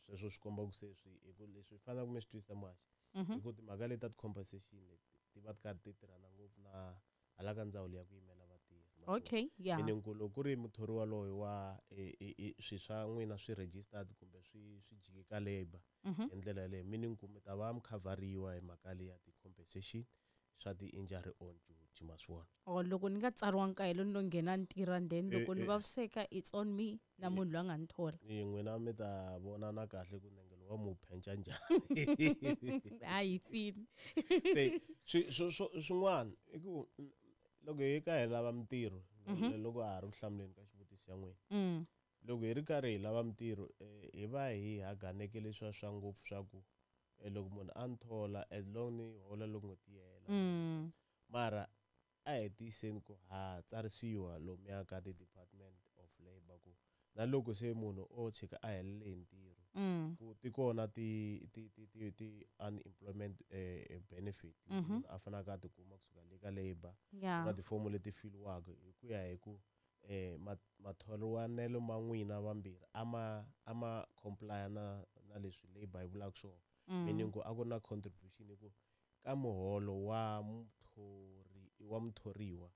Sweswo swi komba ku se swi hi ku leswi faneleke mi swi twisisa muhaxi hi ku timhaka leti ta ti-compensation leti ti va ti karhi ti tirhana ngopfu na hala ka ndzawulo ya ku yimela vatirhi. Meaning ku loko ku ri muthori waloye wa swi swa n'wina swi registered kumbe swi jike ka labour hi ndlela yaleyo, meaning ku mi ta va mi khavhariwa hi mhaka leyi ya ti-compensation swa ti-injury on duty, ma swi vona. Or loko ni nga tsariwangi ka helo, ni lo nghena ni tirha, then loko ni vaviseka, it's on me na munhu loyi a nga ni thola. N'wina mi ta vonana kahle ku nengelo wa mu phenca njhani. Hayi, fini. Se swin'wana i ku loko hi ka hi lava mintirho, loko ha ha ri ku hlamuleni ka xivutiso ya n'wina, loko hi ri karhi hi lava mintirho, hi va hi haganeke leswiya swa ngopfu swa ku loko munhu a ni thola, as long ni hola loko n'hweti yi hela. Mara a hi tiyiseni ku ha tsarisiwa lomuya ka ti-Department of Labour, ku na loko se munhu o tshika a helele hi ntirho, ku ti kona ti unemployment benefit munhu a faneleke a tikuma kusuka le ka labour. Na tifomo leti filiwaka hi ku ya hi ku mathoriwanelo ma n'wina vambirhi a ma comply na leswi labour yi vulaka swona, meaning ku a ku ri na contribution hi ku ka muholo wa muthori wa muthoriwa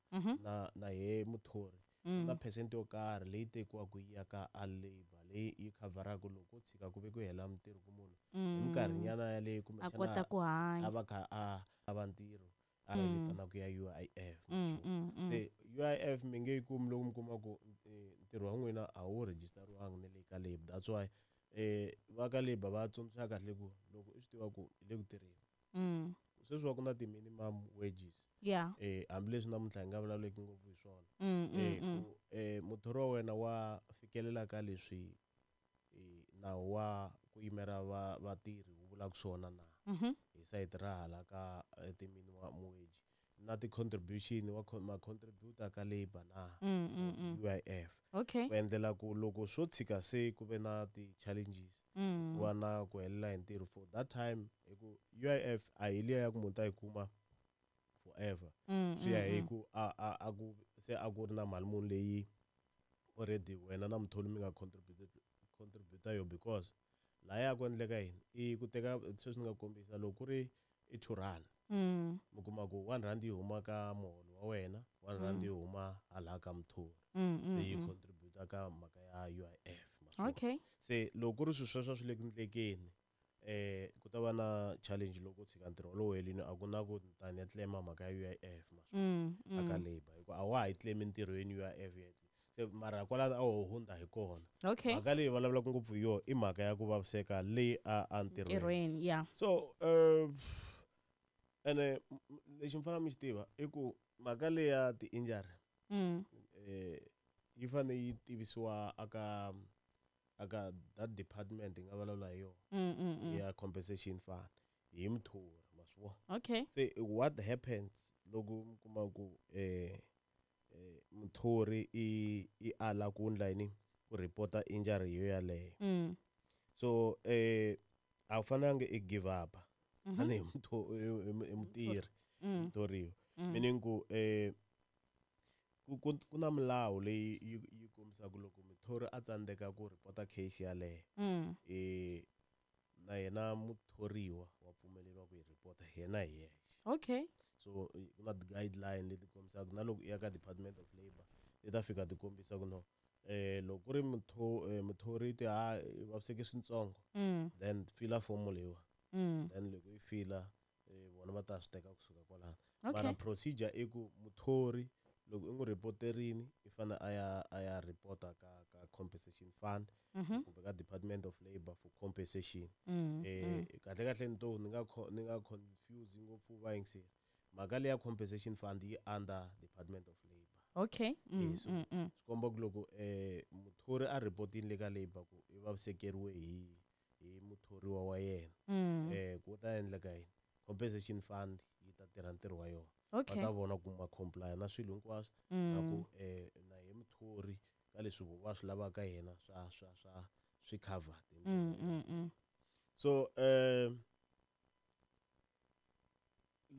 na he muthori, na percent yo karhi leyi tekiwaka yi ya ka a labour leyi yi khavharaka loko ko tshika ku ve ku hela mintirho ku munhu hi minkarhinyana yaleyo a kumbexana kota ku hanya, a va kha a lava ntirho, a yi vitanaka ya UIF. Se UIF mi nge yi kumi loko mi kuma ku ntirho wa n'wina a wu rejistariwangi na le ka labour. That's why va ka labour va tsundzuxa kahle ku loko i swi tiva ku i le ku tirheni, sweswi wa ku na ti-minimum wages, hambileswi namuntlha hi nga vulavuleki ngopfu hi swona, ku muthori wa wena wa fikelela ka leswi nawu wa ku yimela va vatirhi wu vulaka swona na hi sayiti ra hala ka ti-minimum wage na ti-contribution wa ma contributor ka labour na UIF, ku endlela ku loko swo tshika se ku ve na ti-challenges, ku va na ku helela hi ntirho for that time, hi ku UIF a hi liya ya ku munhu ta yi kuma forever. Swi ya hi ku a ku se a ku ri na mali muni leyi already wena na mutholi mi nga contribute yo, because laya ku endleka yini i ku teka sweswi ni nga kombisa loko ku ri i R2, mi kuma ku R1 yi huma ka muholo wa wena, R1 yi huma hala ka muthori, se yi contribute ka mhaka ya UIF, ma swi vona? Okay. Se loko ku ri swilo sweswo swi le ku ndlekeni, ku ta va na challenge loko u tshika ntirho wolowo helini, a ku na ku tani ya claim mhaka ya UIF, ma swi vona, aka labour, hikuva a wa ha yi claim ntirhweni UIF yet. Se mara kwalano a wo hundza hi kona. Mhaka leyi vulavulaka ngopfu hi yona i mhaka ya ku vaviseka leyi a ntirhweni. Ntirhweni, yeah. So ene lexi mi fanele mi xi tiva i ku mhaka leyi ya ti-injury yi fanele yi tivisiwa aka that department hi nga vulavula hi yona ya compensation fund hi muthori, ma swi vona. Se what happens loko mi kuma ku muthori i ala ku ndla yini, ku report-a injury yo yaleyo? So a wu fanelanga i give up tanihi hi mutirhi muthoriwa, meaning ku ku na milawu leyi yi kombisaka loko muthori a tsandzeka ku report-a case yaleyo, na yena muthoriwa wa pfumeleriwa ku yi report yena hi yexe. So ku na ti-guideline leti kombisaka na loko i ya ka Department of Labour ti ta fika ti kombisa ku no, loko ku ri muthori ti ha i vaviseke swintsongo, then fila fomo leyiwa, then loko yi fila, vona va ta swi teka kusuka kwalano. Mara procedure i ku muthori loko i n'wi reporterini, i fanele a ya reporta ka compensation fund kumbe ka Department of Labour for compensation. Kahle kahle ni to ni nga confuse ngopfu vayingiseri, mhaka leya compensation fund yi under Department of Labour. So swi komba ku loko muthori a reportini le ka labour ku i vavisekeriwe hi muthoriwa wa yena, ku ta endleka yini? Compensation fund yi ta tirha ntirho wa yona. Va ta vona ku ma comply na swilo hinkwaswo na ku na hi muthori ka leswi va swi lavaka yena swa swi covered hi ndlela yaleyo. So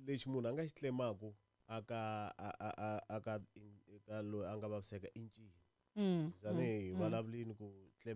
lexi munhu a nga xi claimaku aka a a a aka eka loyi a nga vaviseka i ncini? Tanihi vulavulini ku claim